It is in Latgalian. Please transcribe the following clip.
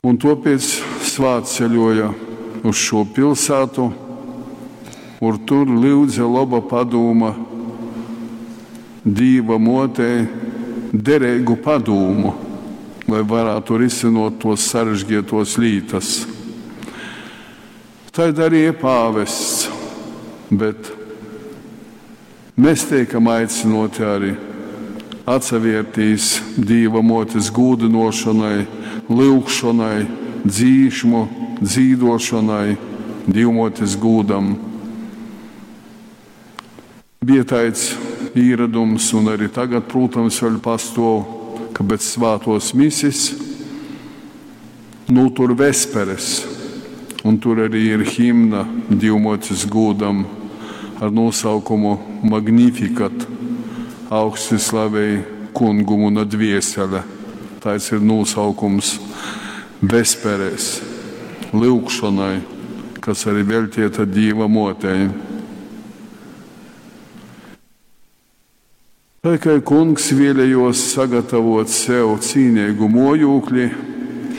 Un tuopēc svātceļuoja uz šū pilsātu, ur tur lyudze loba padūma Dīva muotei dereigu padūmu, lai varātu risynuot tuos sarežgietuos lītas. Tai darīja pāvests, bet mēs teikam aicynuoti arī atsavērtīs Dīva muotes gūdynuošonai, lyugšonai, dzīšmu dzīduošonai, Dīvmuotes gūdam. Bija taids īradums, un arī tagad, prūtams, vēļ pastuov, ka pēc svātuos misis nūtur vesperes, un tur arī ir himna Dīvmuotes gūdam ar nosaukumu Magnificat, augsti slavej kungu muna dviesele. Taids ir nosaukums vesperēs, lyugšonai, kas arī veltieta Dīva muotei. Tai kai kungs vēlējos sagatavot sev cīnīgu mojūkli,